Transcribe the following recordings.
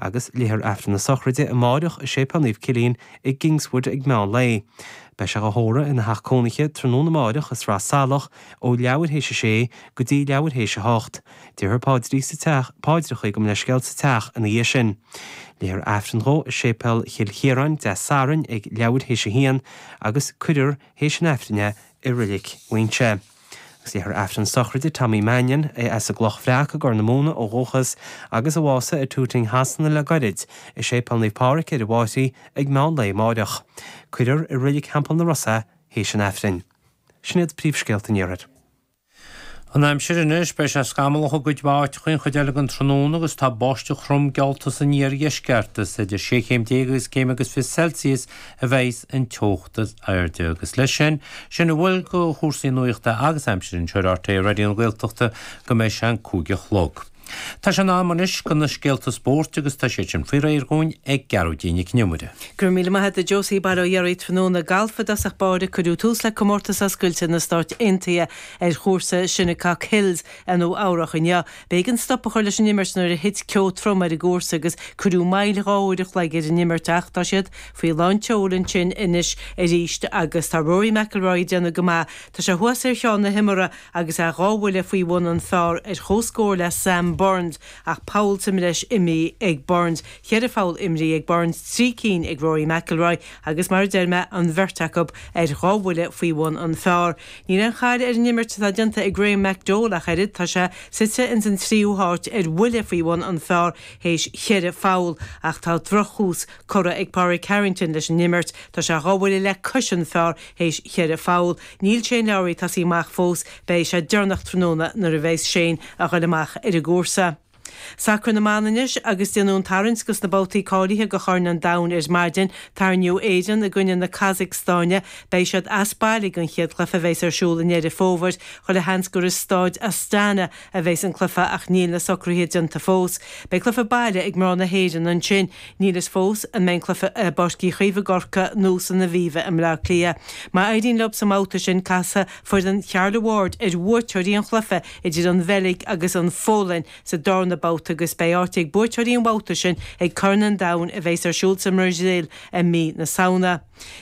Agus léifear Aifreann na sochraide amáireach i Séipéal Naomh Cillian i gKingswood ag meán lae. Beidh sé dhá thórramh ina theach cónaithe tráthnóna amáireach i Sraith Salach ó leathuair théis a sé go dtí leathuair théis a hocht. Déarfar paidrí sa teach, paidreacha gabh mo leithscéal sa teach ina dhiaidh sin. Léifear Aifreann dhó i Séipéal Chill Chiaráin Dé Sathairn ag leathuair théis a haon agus cuirfear théis an Aifrinn é i Reilig Mhuinseo. Agus léifear Aifreann sochraide Tommy Mannion, as an gCloch Bhreac i gCorr na Móna ó dhúchas, agus a bhásaigh i Tooting Shasana le gairid, i Séipéal Naomh Pádraig ar an bhFairche ag meán lae amáireach. Cuirfear i Reilig Theampall na Ros é théis an Aifrinn. Sin iad príomhscéalta an Iarthair. An aimsir anois, beidh sé scamallach i gcuid mhaith áiteacha an chuid eile den tráthnóna agus tá báisteach throm geallta san iardheisceart. Is idir 16 chéim agus céim agus 20 Celsius a bheidhs an teocht is airde. Agus leis sin, sin a bhfuil de chúrsaí nuachta agus aimsire anseo ar RTÉ Raidió na Gaeltachta go mbeidh sé an 5 a chlog. Tá sé in am anois do na scéalta spóirt agus tá siad sin faoi réir dhúinn ag Gearóidín Nic Con Iomaire. Go raibh míle maith agat a Josie. Bail ó Dhia oraibh tráthnóna. Galf i dtosach báire, cuireadh tús le Comórtas Oscailte na Stáit Aontaithe ar chúrsa Shinnecock Hills i Nua Eabhrach inniu. B'éigean stop a chur leis an imirt nuair a thit ceo trom ar an gcúrsa agus cuireadh moill 2 uair a chloig ar an imirt ach tá siad faoi lán tseoil ansin anois arís agus tá Rory McIlroy ag déanamh go maith. Tá sé thuas ar cheann na himeartha agus é 2 bhuille faoi bhun an phar ar comhscór le Sam Burns ach poll sa mbreis imithe ag Burns. Cheithre pholl imrithe ag Burns, 3 cinn ag Rory McIlroy agus mar a deir mé, an bheirt acu ar 2 bhuille faoi bhun an phar. Níl aon chaill ar an imirt atá déanta ag Graham McDowell ach oiread, tá sé suite ins an tríú háit ar bhuille faoi bhun an phar théis cheithre pholl ach tá drochthús curtha ag Pádraig Harrington leis an imirt, tá sé 2 bhuille le cois an phar théis cheithre pholl. Níl Shane Lowry ag tosaí amach fós, beidh sé deireanach tráthnóna nuair a bheas Shane a ghoil amach ar an gcúrsa. Sacar na mban anois agus déanadh an tarraingt dos na babhtaí cáilithe do Chorn an Domhain ar maidin. Tarraingíodh Éirinn i gcoinne na Casacstáine. Beidh siad as baile don chéad chluiche a bheas ar siúl i nDeireadh Fómhair. Chuile sheans gur i Stáid Astana a bheas an cluiche ach níl na socruithe déanta fós. Beidh cluiche baile ag mná na hÉireann ansin. Níl fhios fós an mbeidh an cluiche i bPáirc Uí Chaoimh i gCorcaigh nó san Aviva i mBleá Cliath. Má éiríonn leo sa mbabhta sin casfaidh foireann Charla Ward ar bhuaiteoirí an chluiche idir an Bheilg agus an Pholainn sa darna babhta agus beidh áit ag buaiteoirí an bhabhta sin ag Corn an Domhain a bheas ar siúl sa mBrasaíl i mí na Samhna.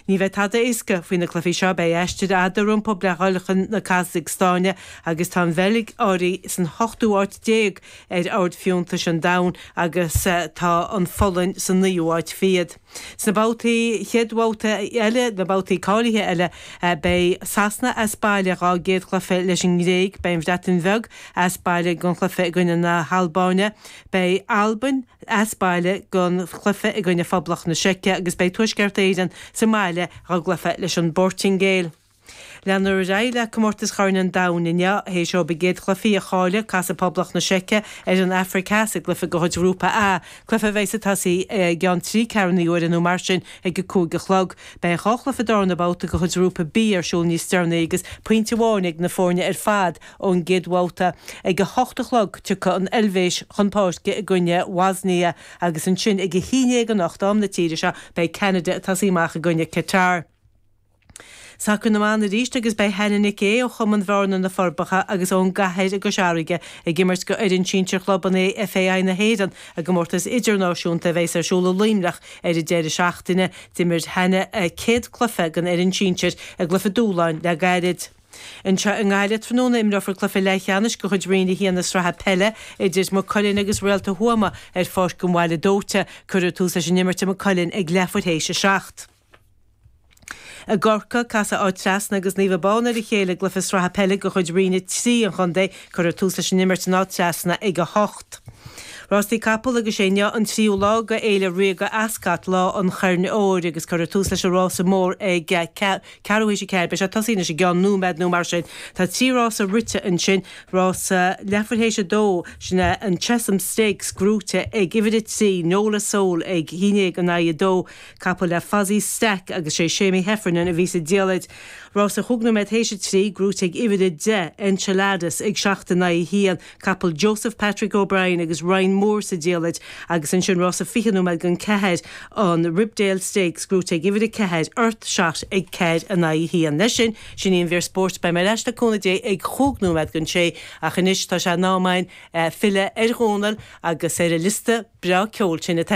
Ní bheidh tada éasca faoi na cluichí seo, beidh aistir fhada rompu le dhul chun na Casacstáine agus tá an Bheilg áirithe san hochtú háit déag ar ord fiúntais an domhain agus tá an Pholainn sa naoú háit fichead. Sna babhtaí, chéad bhabhta eile, na babhtaí cáilithe eile, beidh Sasana as baile dhá gcéad chluiche leis an nGréig, beidh an Bhreatain Bheag as baile don chluiche i gcoinne na hAlbáine, beidh Albain as baile don chluiche i gcoinne Phoblacht na Seice agus beidh Tuaisceart Éireann sa mbaile dhá gcluiche leis an bPortaingéil. Leanfar ar aghaidh le Comórtas Chorn an Domhain inniu. Théis dóibh a gcéad chluichí a chailleadh, casfaidh Poblacht na Seice ar an Afraic Theas i gcluiche de chuid Ghrúpa A, cluiche a bheidh ag tosaí i gceann trí ceathrúna uaire nó mar sin ag a 5 a chlog. Beidh 2 chluiche darna babhta de chuid Ghrúpa B ar siúl níos deireanaí agus pointe amháin ag na foirne ar fad ón gcéad bhabhta. Ag a hocht a chlog tiocfaidh an Eilvéis chun páirce i gcoinne Bhoisnia agus ansin ag a haon dhéag anocht, am na tíre seo, beidh Ceanada ag tosaí amach i gcoinne Qatar. Sacar na mban arís agus beidh Hannah Nic Aodha ó Chumann Bhearna na Forbacha agus ón gCathair i gCois Fharraige ag imirt go fhoireann sinsir chlub an FAI na hÉireann i gcomórtas idirnáisiúnta a bheas ar siúl i Luimneach ar an deireadh seachtaine. D'imir Hannah a céad cluiche don fhoireann sinsir i gcluiche dúshláin le gairid. Anseo i nGaillimh tráthnóna imreofar cluiche leathcheannais de chuid Roinn 1 na Sraithe Peile idir Maigh Cuilinn agus Réalta Thuama ar Pháirc an Bhaile Dóite. Cuirfear tús leis an imirt i Maigh Cuilinn ag leathuair théis a 7. I gCorcaigh, casfaidh Áth Trasna agus Naomh Abán ar a chéile i gcluiche sraithe peile de chuid Roinn 3 an chontae. Cuirfear tús leis an imirt in Áth Trasna ag 8. Rástaí capall agus sé inniu an tríú lá de Fhéile Ríoga Ascot, Lá an Choirn Óir, agus cuirfear tús leis an rása mór ag ceathrú théis a ceathair. Beidh sé ag tosaí anois i gceann nóiméad nó mar sin. Tá 3 rása rite ansin, rása leathuair théis a dó, sin é an Chesham Stakes gnóite ag uimhir a 3, Nola Soul ag haon déag in aghaidh a dó. Capall le Fozzy Stack agus sé Seamie Heffernan a bhí sa diallait. Rása chúig nóiméad théis a 3, gnóite ag uimhir 10, Enchiladas, ag 7 in aghaidh 1, capall Joseph Patrick O'Brien agus Ryan Moore sa diallait agus ansin rása 20 nóiméad don 4, an Ribdale Stakes, gnóite ag uimhir 4, Earth Shot ag 4 in aghaidh 1. Leis sin, sin í an mhír spóirt. Beidh mé ar ais le cúnamh Dé ag chúig nóiméad don sé ach anois tá sé in am againn filleadh ar Dhónal agus ar a liosta breá ceoil sin atá.